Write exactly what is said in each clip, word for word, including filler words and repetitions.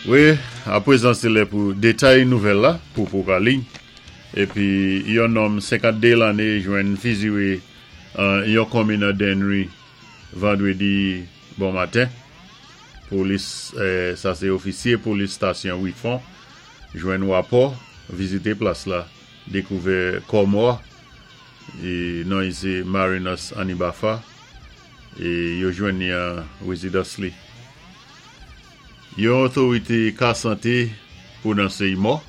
Wi, apwézan sé lè pou détay nouvèl la, pou pou ka li. Épi yon nonm senkant-dé lanné jwenn fiziwé an yon konminn an Dennery vandwédi bon maten. Polis, eh, sa sé ofisyé polis stasyon Wifon, jwenn wapò, vizité plas la, dékouvè kò mò, é non i sé Marinus Anibafa, é yo jwenn ni an wézidans li. Yon otorité ka santé pwononsé i mò,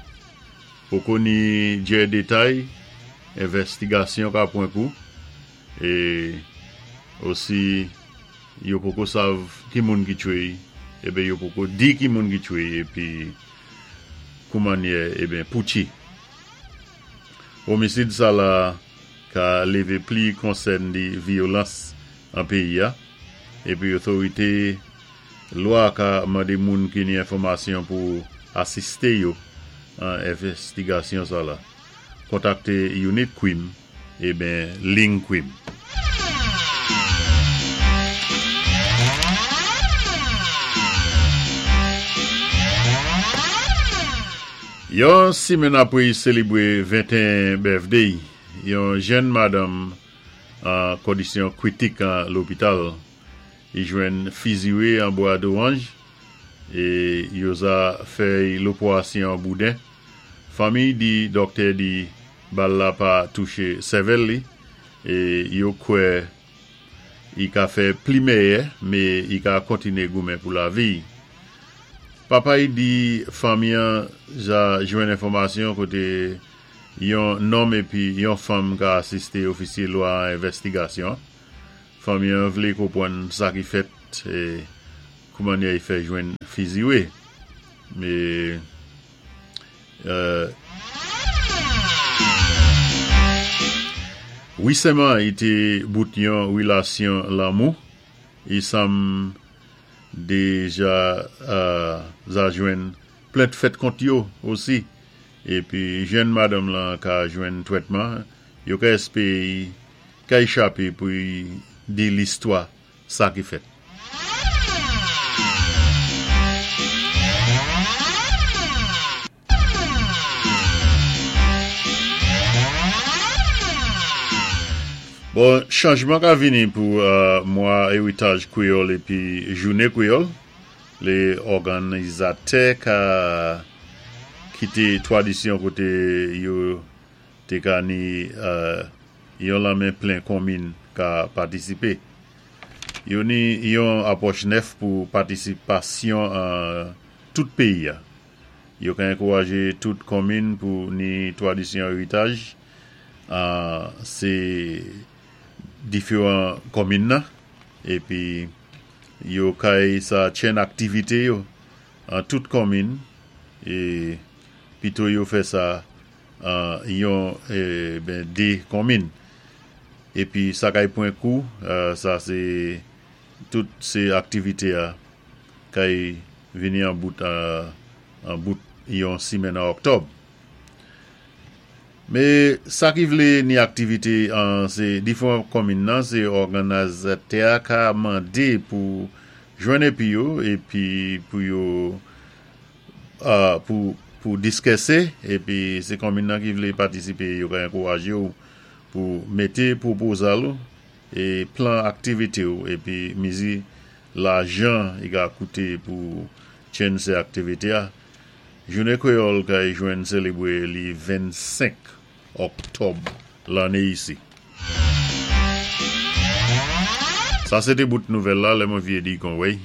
poko ni djè détay, envèstigasyon ka pwan kou, é osi yo poko sav ki moun ki tchwé, eben yo poko di ki moun ki tchwé, épi koumannyè, eben poutchi. Omisid sa la ka lévé pli konsèn di vyolans an péyi a, épi otorité lwa ka mandé moun ki ni enfòmasyon pou asisté yo an envèstigasyon sa la. Kontakté Unit Kwim, eben Ling Kwim. Yon simenn apwé sélébwé venteyen birthday, yon jenn madanm an kondisyon kwitik an lopital, i jwenn fiziwé an Bwa Dowanj é yo za fè lopwasyon bouden. Fanmi di dòktè di bal la pa touché sèvèl li é yo kwè i ka fè pli méyè, mé i ka kontiné goumen pou lavi. Papa i di fanmi an ja jwenn enfòmasyon koté yon nonm épi yon fanm ka asisté ofisyé lwa an envèstigasyon. Fanmi an vlé konpwann sa ki fèt é koumannyè i fè jwenn fiziwé. Mé euh, wisèman i té bout yon wilasyon lanmou, i sanm déja euh, za jwenn plent fèt kont yo osi. Épi jenn madanm lan ka jwenn twètman, yo ka èspéwé ka échapé pou i di listwa sa ki fèt. Bon, chanjman ka vini pou euh, mwa éritaj kwéyòl épi jouné kwéyòl. Lé òganizatè ka kité twadisyon koté yo té ka ni euh, yon lanmen plen konminn ka patisipé. Yo ni yon apwòch nèf pou patisipasyon an tout péyi a. Yo ka ankourajé tout konminn pou ni twadisyon éritaj an sé diféwan konminn nan épi yo kay sa tchenn aktivité yo an tout konminn é pito yo fè sa an yon eh, ben dé konminn. Épi sa kay pwan kou, euh, sa sé tout sé aktivité a kay vini an bout euh, an bout yon simenn an òktòb. Mé sa ki vlé ni aktivité an sé diféwan konminn nan, sé òganizatè ka mandé pou jwenn épi yo épi pou yo euh, pou pou diskisé épi sé konminn nan ki vlé patisipé yo ka ankourajé ou pou mété pwopozal ou é plan aktivité ou épi mizi lajan i ka kouté pou tchenn sé aktivité a. Jouné kwéyòl kay jwenn sélébwé li vennsenk òktòb lanné isi. Sa sé té bout nouvèl la, lè mwen vyé di kon wèy.